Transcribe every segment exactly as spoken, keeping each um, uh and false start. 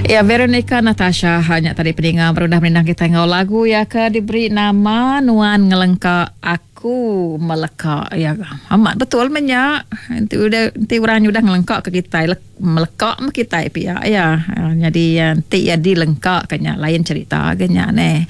Ya, Veronica Natasha hanya tadi peninga berudah merindang kita ngau lagu ya ke diberi nama Nuan Ngelengka Aku Meleka. Ya, amat betul menyak. Nanti udah nanti orang udah ngelengka ke kita, meleka me kita pia ya. Jadi nanti ya dilengka kenya lain cerita kenya ne.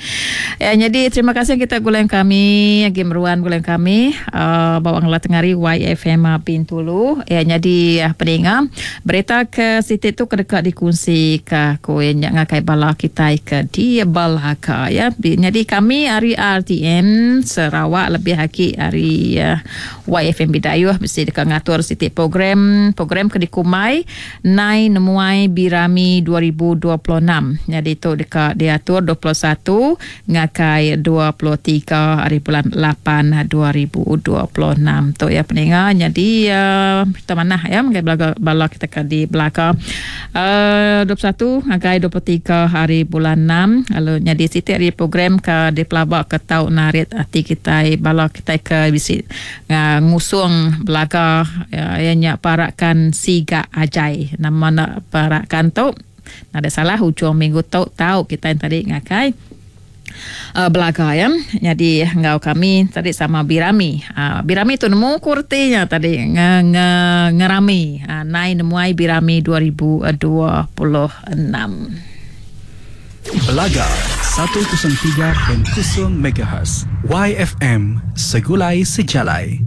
Ya, jadi terima kasih kita guleng kami, lagi meruan guleng kami uh, bawa ngelah tengari Y F M Bintulu. Ya, jadi peninga berita ke situ tu kedeka dikongsi ke ku nyak ngakai bala kita ke di Balaka ya. Jadi kami hari R T M Sarawak lebih haki hari uh, Y F M Bidayuh mesti dekat ngatur siti program program ke dikumai Nai Nemuai Birami dua ribu dua puluh enam. Jadi tu dekat diatur dua puluh satu ngakai dua puluh tiga hari bulan lapan dua ribu dua puluh enam tu ya peninga. Jadi uh, kita mana ya mengai bala, bala kita ke di belaka uh, dua puluh satu ngakai dua puluh tiga hari bulan enam. Lalu jadi siti hari program ke di pelabak ke tau narit hati kita bala kita ke bisi uh, ngusung belaga ya, ya nyak parakan Siga Ajai nama nak parakan tu ada salah hujung minggu tu tau kita yang tadi ngakai Uh, belaga ya. Jadi ngau kami tadi sama Birami. Uh, Birami tu nemu kurtinya tadi nge, nge, ngerami uh, Nai Nemuai Birami dua ribu dua puluh enam. Belaga seratus tiga perpuluhan kosong megahertz Y F M Segulai Sejalai.